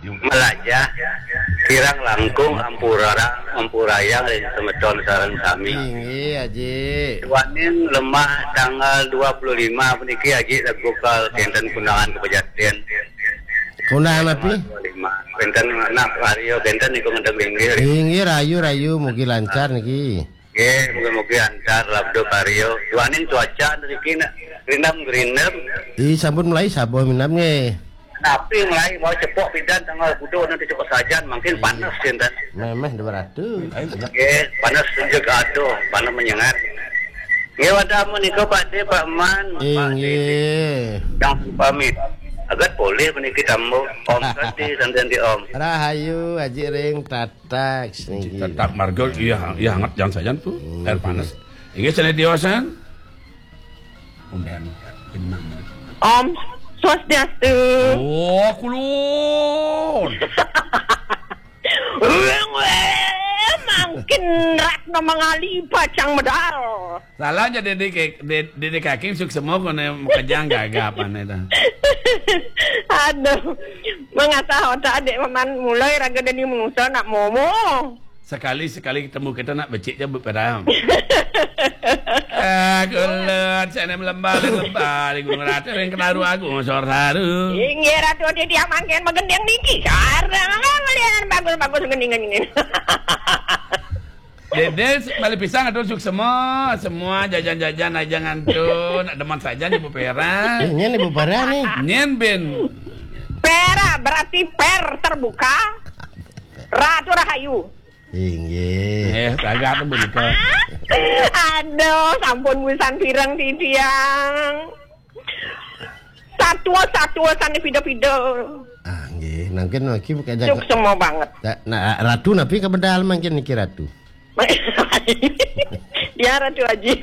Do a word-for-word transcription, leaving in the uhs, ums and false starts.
Melajah kirang langkung ampura, ampurayang ring semeton sareng sami. Inggih, Aji. Duaning lemah tanggal dua puluh lima puniki, Aji, lagu kal kenten kundangan kapejaten. Kundangan api? Dua lima. Kenten anak Aryo, kenten niku ngedeng linggih. Inggih, rayu, rayu, mugi lancar niki. Nggih, mugi-mugi antar labda karya. Duaning cuaca niki nak gerindam-gerindam. Ih, sampun mulai sabuh minam nggih. Tapi mulai mau cepok pidan tanggal kuda nanti cepok sajan, mungkin panas sinten. Memeh dua ratus. Nggih, panas juga aduh, panas menyengat. Nggih, wadah menika Pak De, Pak Man, Pak De. Inggih. Yang pamit. Agat boleh meniki tamu. Om Santi, Santi, Santi, Om. Rahayu, Aji Ring, Tataks niki. Tetap marga, iya, iya, hangat jangan sajan tuh. Hmm. Air panas. Inggih, sane tiosan. Om Swastiastu. Oh, kulun. Mangkin Ratna Mangali pacang medal. Salah aja Dede ke, De-, Dede Kaking suksema kone makejang gagap ane ta. Aduh. Mengasah otak adik paman mulai raga dadi manusa nak momo. Sekali-sekali ketemu kita nak becik je beperang. Ah, kulut, sana melembah, melembah, di Gunung Ratu, yang kenaru aku, ngosor saru. Inggih Ratu titiang mangkin magending niki. Sareng melihat bagus-bagus gending-gending. Dede, balik pisang atur suksema, semua jajan-jajan aja ngantun, nak demen saja Ibu Pera. Eh, nyen Ibu Pera nih. Nyen ben. Pera berarti per terbuka. Ratu Rahayu. Inggih. Eh, kagak tuh begitu. Aduh, sampun busan pireng titiang. Satua-satua sane pida-pida. Ah, nggih, mangkin niki kajak. Suksema banget. Nah, nah, Ratu napi kabedal mangkin niki Ratu? Ya, Ratu Aji.